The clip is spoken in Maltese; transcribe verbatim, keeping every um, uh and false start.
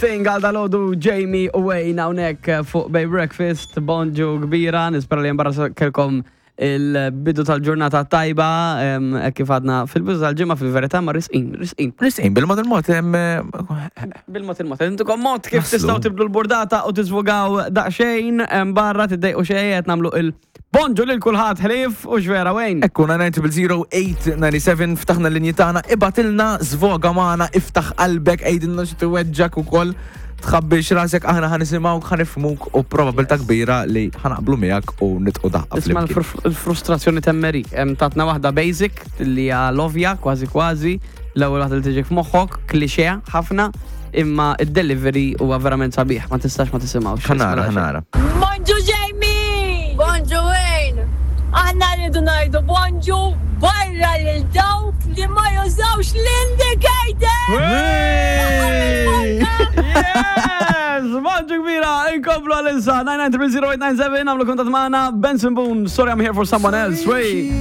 Thing għal dalgħodu Jamie u Wayne hawnhekk fuq Bay Breakfast, bonġu kbira, nispera li barra kellkom il-bidu tal-ġurnata tajba, em, hekk kif għadna fil-bidu tal-ġimgħa fil-verità ma risqin, risqin. Risqin, bil-mod il-mod, em, Bil-mod il-mod, intukom mod kif Naslu. tistgħu tibdlu l-burdata u tiżvogaw daqsxejn em, barra tiddejqu xejn qed nagħmlu il-bonġu lil kulħadd ħlief u x'vera Wayne. Ekku, nine zero zero eight nine seven ftaħna l-linji tagħna, ibgħatilna, żvoga magħna, iftaħ qalbek, għidilna xi tweġġak ukoll, tħabbix rasek, aħna ħa nisimgħuk, ħa nifhmuk u probabilità kbira li ħa naqblu miegħek u nidħku daqqa Isma' flimkien. l-frustrazzjoni temmeri. Em, Tatna waħda basic li hija l-ovja kważi kważi, l-ewwel waħda li tiġik f'moħħok, klixe ħafna, imma id-delivery huwa verament sabiħ, ma tistax ma tisimgħux. Ħa nara, ħa nara. Bonġu Jamie! Bonġu Wayne! Aħna rridu ngħidu bonġu barra lil dawk li ma jużawx l-indicator! Yes! Bonġu kbira, inkomplu għal-insa, nine nine zero eight nine seven, għamlu kuntatt magħna, Benson Boone, "Sorry I'm Here for Someone Else", wey!